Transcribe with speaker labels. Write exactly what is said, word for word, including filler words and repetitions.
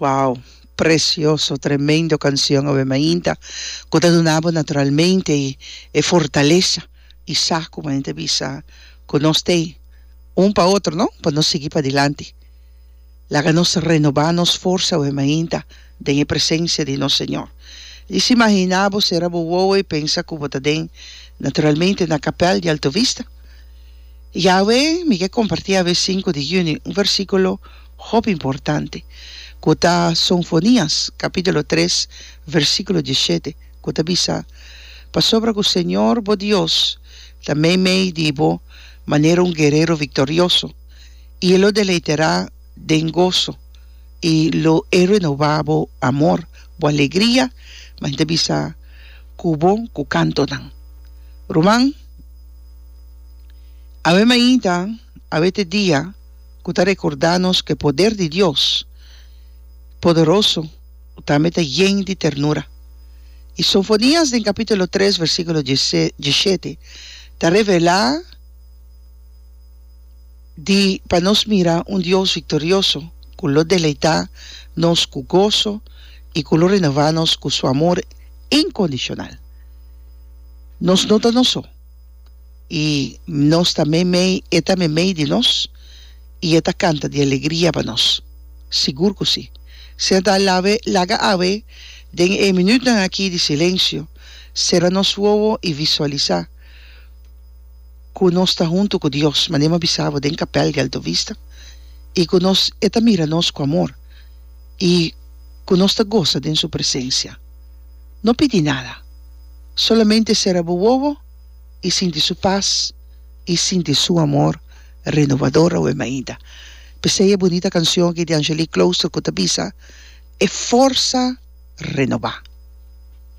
Speaker 1: Wow, precioso, tremendo cancion awe mainta, cu ta duna bo naturalmente e fortalesa y sa cu manera bisa cu nos t'ey un pa otro, no? Pa nos sigui padilanti. Laga nos renoba nos forsa awe mainta den e presencia di nos Señor. Djis imagina bo, cera bo wowo y pensa cu bo ta den, naturalmente, na Kapel di Alto Vista. Y awe mi ke comparti awe sinku di juni un versiculo hopi importante cu ta Sonfonias capitulo tres versiculo diesshete cu ta bisa, Pasobra cu Señor bo Dios ta meimei di bo manera un guerero victorioso, y e lo deleiterá den goso, y lo e renobá bo amor, bo alegria, ma hende ta bisa cu bo cu cantonan. Ruman, awe mainta, awe ta e dia cu ta recorda nos cu e poder di Dios poderoso tambe ta yen di ternura. Y Sofonias den capitulo tres versiculo diesshete ta revela di pa nos mira un Dios victorioso cu lo deleita nos cu goso y cu lo renova nos cu su amor incondicional. Nos no ta nos so y nos ta meimei, e ta meimei di nos y e ta canta di alegria pa nos. Sigur cu si. Senta lawe laga awe den e minutnan aki di silencio, cera nos wowo y visualisa cu nos ta hunto cu Dios, manera mi a bisa bo den Kapel di Alto Vista, y cu nos e ta mira nos cu amor y cu nos ta gosa den su presencia. No pidi nada, solamente cera bo wowo y sinti su paz y sinti su amor renovador awe mainta. P'esei e bunita cancion aki di Angelique Klooster cu ta bisa, E forsa renobá.